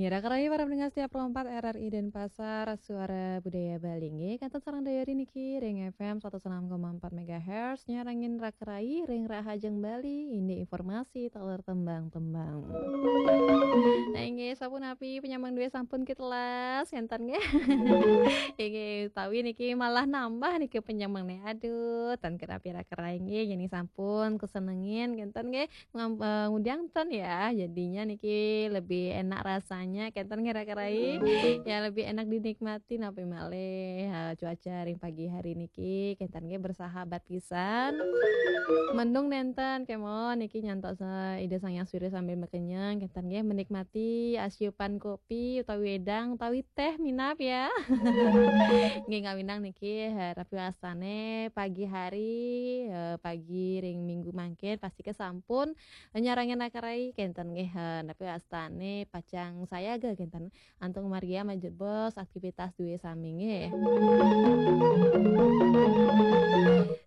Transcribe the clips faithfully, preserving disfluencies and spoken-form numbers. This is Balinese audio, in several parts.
Ya, Raka Rai para pendengar setia Pro empat R R I Denpasar, Suara Budaya Bali. Nggih, kenten sareng dayari niki ring F M satus enam koma empat megahertz, nyarengin Raka Rai ring Rahajeng Bali, indik informasi taler tembang-tembang. Nah, inggih, sapunapi penyambung duwe sampun kitelas, kenten nggih. Inggih, utawi niki malah nambah niki penyambungne. Aduh, ten kenapi Raka Rai nggih, yen sampun kesenengin, kenten nggih. Ngam-, eh, ngundang ten ya, jadinya niki lebih enak rasanya, kenten nggih Raka Rai. Ya, lebih enak dinikmati napi malih, eh, cuaca ring pagi hari niki, kenten nggih bersahabat pisan. Mendung nenten kemawon niki nyantos, eh, Ida Sang Hyang Surya sambil makenyang, kenten nggih menikmati asiupan kopi utawi wedang utawi teh minab ya. Nggih ngawinang niki, eh, napi wastane pagi hari, eh, pagi ring minggu mangkin pasti kesampun nyarengin Raka Rai kenten nggih, eh, napi wastane pacang sayaga kenten antuk margia majebos aktivitas duwe sami nggih.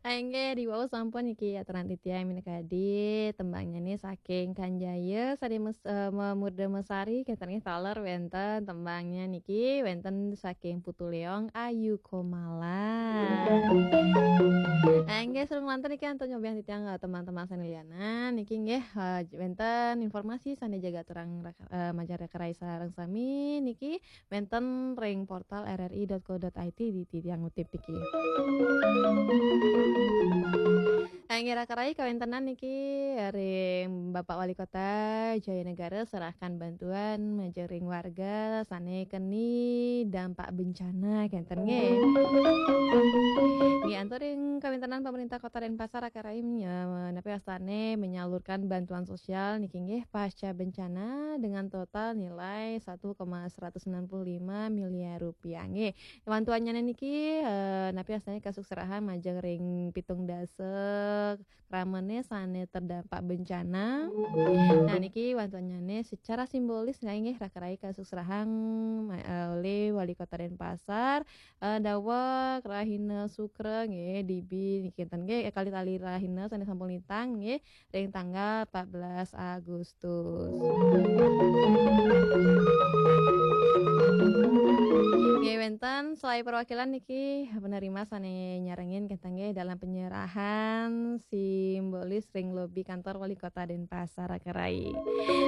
Ah, inggih, diwau sampun niki aturan titiang minakadi tembangnya nih saking Kanjaya Sari Mes-, eh, Memurda Mesari kenten nggih taler wenten tembangnya niki wenten saking Putu Leong Ayu Komala. Ah, inggih, sareng manten niki antuk nyobiang titiang, eh, teman-teman sane lianan niki nggih, eh, wenten informasi sane jaga aturang rak-, eh, majeng Raka Rai sareng sami niki wenten ring portal R R I dot co dot I T di titiang ngutip niki. Inggih Raka Rai kawentenan niki ring Bapak Wali Kota Jayanegara serahkan bantuan majeng ring warga sane keni dampak bencana kenten nggih. Nggih antuk ring kawentenan pemerintah Kota Denpasar Raka Rai menye-, napi wastane menyalurkan bantuan sosial niki nggih pasca bencana dengan total nilai satu koma seratus sembilan puluh lima miliar rupiah nggih. Bantuannya niki, eh, napi wastane kasukserahan majeng ring pitung dasa kramane sane terdampak bencana. Nah, niki bantuannya secara simbolis nggih Raka Rai kasukserahan ma-, eh, oleh Wali Kota Denpasar, eh, daweg rahina Sukra nggih, dibi niki enten nggih, eh, kalih tali rahina sane sampun lintang nggih, ring tanggal empat belas Agustus. Nggih, wenten selae perwakilan niki penerima sane nyarengin kenten nggih dalam penyerahan simbolis ring lobi kantor Wali Kota Denpasar Raka Rai.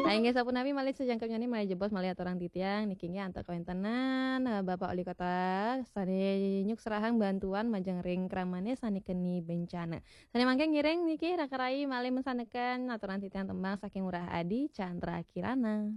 Ah, inggih sapunapi malih sajangkepnyane malih jebos malih aturang titiang niki nggih antuk kawentenan, eh, Bapak Wali Kota sane nyuksrahang bantuan majeng ring kramane sane keni bencana. Sane mangke ngiring niki Raka Rai malih mesaneken aturang titiang tembang saking Ngurah Adi Chandra Kirana.